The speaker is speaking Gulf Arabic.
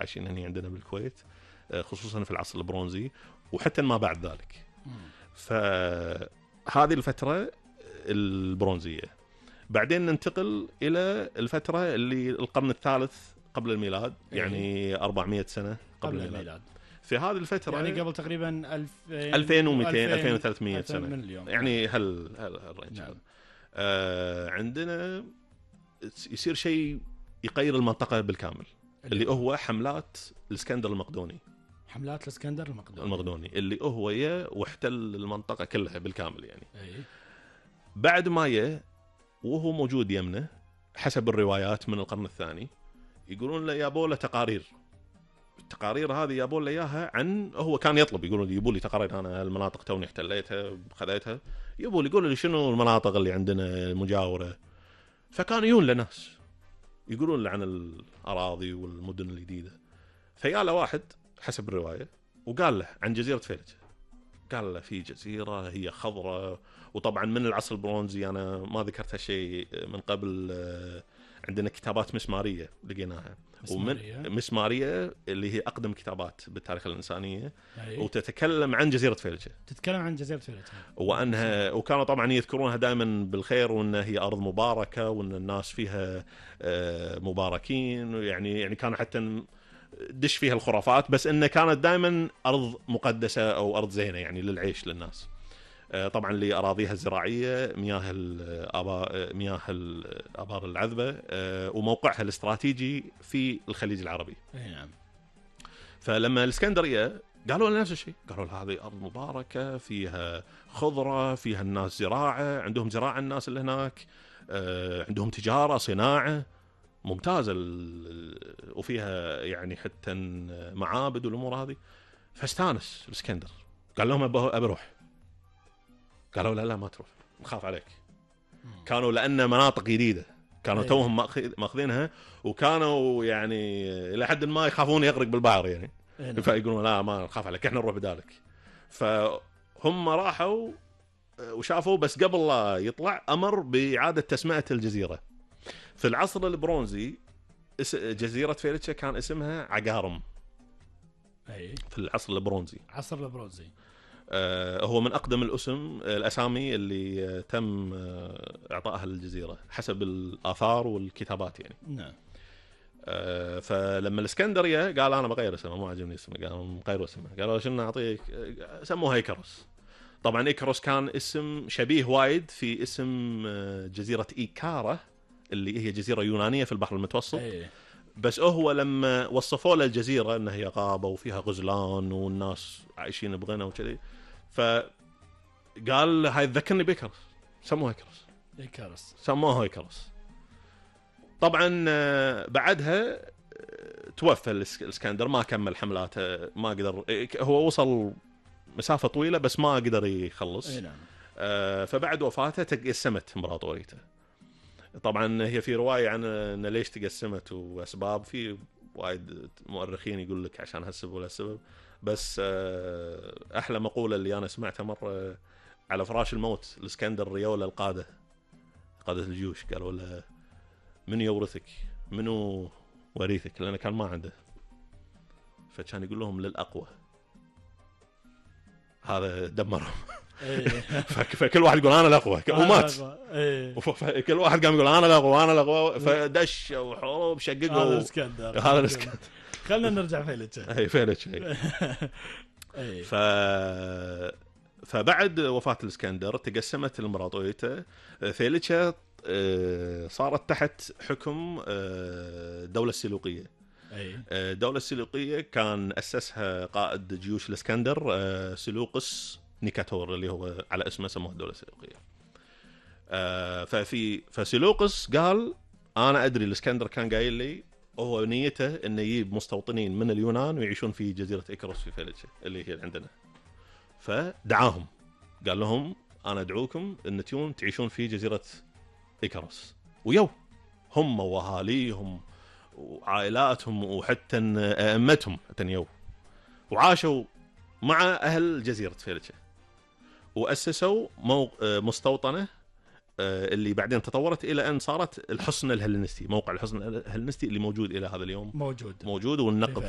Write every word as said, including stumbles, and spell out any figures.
عايشين هنا عندنا بالكويت، خصوصا في العصر البرونزي وحتى ما بعد ذلك. فهذه الفترة البرونزية. بعدين ننتقل إلى الفترة اللي القرن الثالث قبل الميلاد، يعني أربعمائة سنة قبل, قبل الميلاد. في هذه الفترة يعني قبل تقريبا ألفين ومئتين ألفين وثلاثمائة سنة من اليوم. يعني هل هل الرينج. نعم. آه عندنا يصير شيء يغير المنطقة بالكامل، اللي, اللي هو حملات الإسكندر المقدوني. حملات الإسكندر المقدوني. المقدوني اللي هو يه واحتل المنطقة كلها بالكامل يعني. أي. بعد ما يه وهو موجود يمنه حسب الروايات من القرن الثاني، يقولون له يابوا له تقارير. التقارير هذه يابوا له اياها عن، هو كان يطلب، يقولون لي يبوا لي تقارير، انا المناطق توني احتليتها خذيتها، يبوا لي يقولوا لي شنو المناطق اللي عندنا المجاوره. فكانوا يجون لناس يقولون له عن الاراضي والمدن الجديده. فيا له واحد حسب الروايه وقال له عن جزيره فيلتشة، قال له في جزيره هي خضراء. وطبعا من العصر البرونزي انا ما ذكرت هالشيء من قبل، عندنا كتابات مسماريه لقيناها، مسمارية. ومن مسماريه اللي هي اقدم كتابات بالتاريخ الانسانيه. أي. وتتكلم عن جزيره فيلتشة، تتكلم عن جزيره فيلتشة وانها وكانوا طبعا يذكرونها دائما بالخير، وانها هي ارض مباركه، وان الناس فيها مباركين، يعني يعني كان حتى دش فيها الخرافات، بس انها كانت دائما ارض مقدسه او ارض زينه يعني للعيش للناس. طبعا لأراضيها الزراعية، مياه الآبار مياه الآبار العذبة، وموقعها الاستراتيجي في الخليج العربي. نعم. فلما الإسكندرية قالوا لنا نفس الشيء، قالوا لها هذه أرض مباركة فيها خضرة، فيها الناس زراعة، عندهم زراعة الناس اللي هناك، عندهم تجارة صناعة ممتازة، وفيها يعني حتى معابد والأمور هذه. فاستانس الإسكندر، قال لهم أبي أروح. قالوا لا لا ما تروح، نخاف عليك. كانوا لأن مناطق جديدة، كانوا توهم ماخذينها، وكانوا يعني إلى حد ما يخافون يغرق بالبحر يعني. فيقولون لا ما نخاف عليك، احنا نروح بدالك. فهم راحوا وشافوا، بس قبل لا يطلع أمر بإعادة تسمية الجزيرة. في العصر البرونزي جزيرة فيلتشة كان اسمها عقارم. أي. في العصر البرونزي. عصر البرونزي. آه هو من أقدم الأسم الأسامي اللي آه تم آه إعطائها للجزيرة حسب الآثار والكتابات يعني. نعم. آه فلما الإسكندرية قال أنا بغير اسمه، ما عجبني اسمه، قالوا غيروا اسمه، قالوا شنو نعطيك، سموه إيكاروس. طبعا إيكاروس كان اسم شبيه وايد في اسم آه جزيرة إيكارا اللي هي جزيرة يونانية في البحر المتوسط. أي. بس هو لما وصفوا له الجزيرة أنها هي غابة وفيها غزلان والناس عايشين بغنى وكذي، فقال هاي تذكرني بإيكاروس، سموها إيكاروس. إيكاروس سموها إيكاروس. طبعا بعدها توفى الإسكندر، ما كمل حملاته، ما قدر، هو وصل مسافة طويلة بس ما قدر يخلص. أي نعم. فبعد وفاته تقسمت إمبراطوريته. طبعا هي في رواية عن أن ليش تقسمت وأسباب، في وايد مؤرخين يقول لك عشان هالسبب ولا السبب، بس أحلى مقولة اللي أنا سمعتها مرة على فراش الموت الإسكندر ريوله القادة قادة الجيوش، قالوا له من يورثك، منو وريثك، لأنه كان ما عنده، فكان يقول لهم للأقوى، هذا دمرهم. فكل واحد يقول انا الاقوى ومات، كل واحد قام يقول انا الاقوى انا الاقوى، فدش وحروب شققوا. هذا الاسكندر هذا الاسكندر. خلينا نرجع فيلتشة. اي فيلتشة. ف فبعد وفاة الاسكندر تقسمت الامبراطورية. فيلتشة صارت تحت حكم الدولة السلوقية. الدولة السلوقية كان أسسها قائد جيوش الاسكندر سلوقس نيكاتور، اللي هو على اسمه سموه الدولة السلوقية. آه ففي فسلوقس قال أنا أدري الإسكندر كان قايل لي هو نيته إنه يجيب مستوطنين من اليونان ويعيشون في جزيرة إيكاروس في فيلتشة اللي هي عندنا. فدعاهم قال لهم أنا أدعوكم إن تيون تعيشون في جزيرة إيكاروس، ويو هم وأهاليهم وعائلاتهم وحتى أئمتهم حتى يو، وعاشوا مع أهل جزيرة فيلتشة، وأسسوا مستوطنة اللي بعدين تطورت إلى أن صارت الحصن الهلينستي. موقع الحصن الهلينستي اللي موجود إلى هذا اليوم موجود موجود والنقب